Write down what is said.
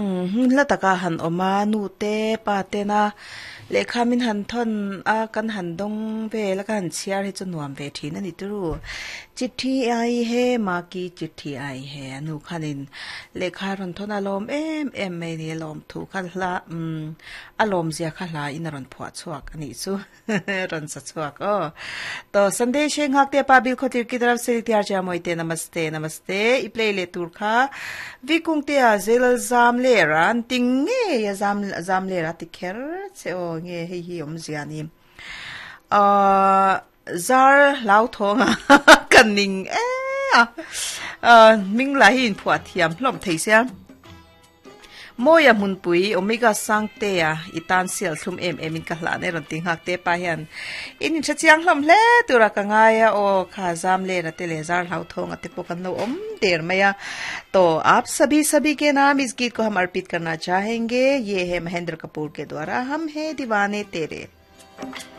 Hla taka han awm a, nu te pa tena lehkha min han thawn a kan han dawng vel a kan han chhiar hi chu nuam ve thin a ni turu. Chitthi ai he maki chitthi ai he a nu khanin lehkha rawn thawn a lawm em em mai a ni a lawm thu kha hla a lawm zia kha hla in a rawn phuah chhuak a nih chu. Rawn sa chhuak aw. To Sunday she nghak te pa bil khotir ki taraf se tiar cha moi te namaste namaste i play le tur kha vi kung te a zelal zam le ran ting nge ya zam zam le ra ti kher che o nge hei hi om zia ni a zar lau thonga kan ning e a ming la hi in phua thiam hlom thei sia Mawia hmunpui Omega Sangtea i tan sial thlum em em in ka hlan e rawn ti nghak te pa hian in in hre chiang hlawm hle tura ka ngai a aw kha zam lera te leh zar hlauthawng a te pawh kan lo awm der mai a to aap sabhi sabhi ke naam is geet ko hum arpit karna chahenge ye hai Mahendra Kapoor ke dwara hum hai diwane tere.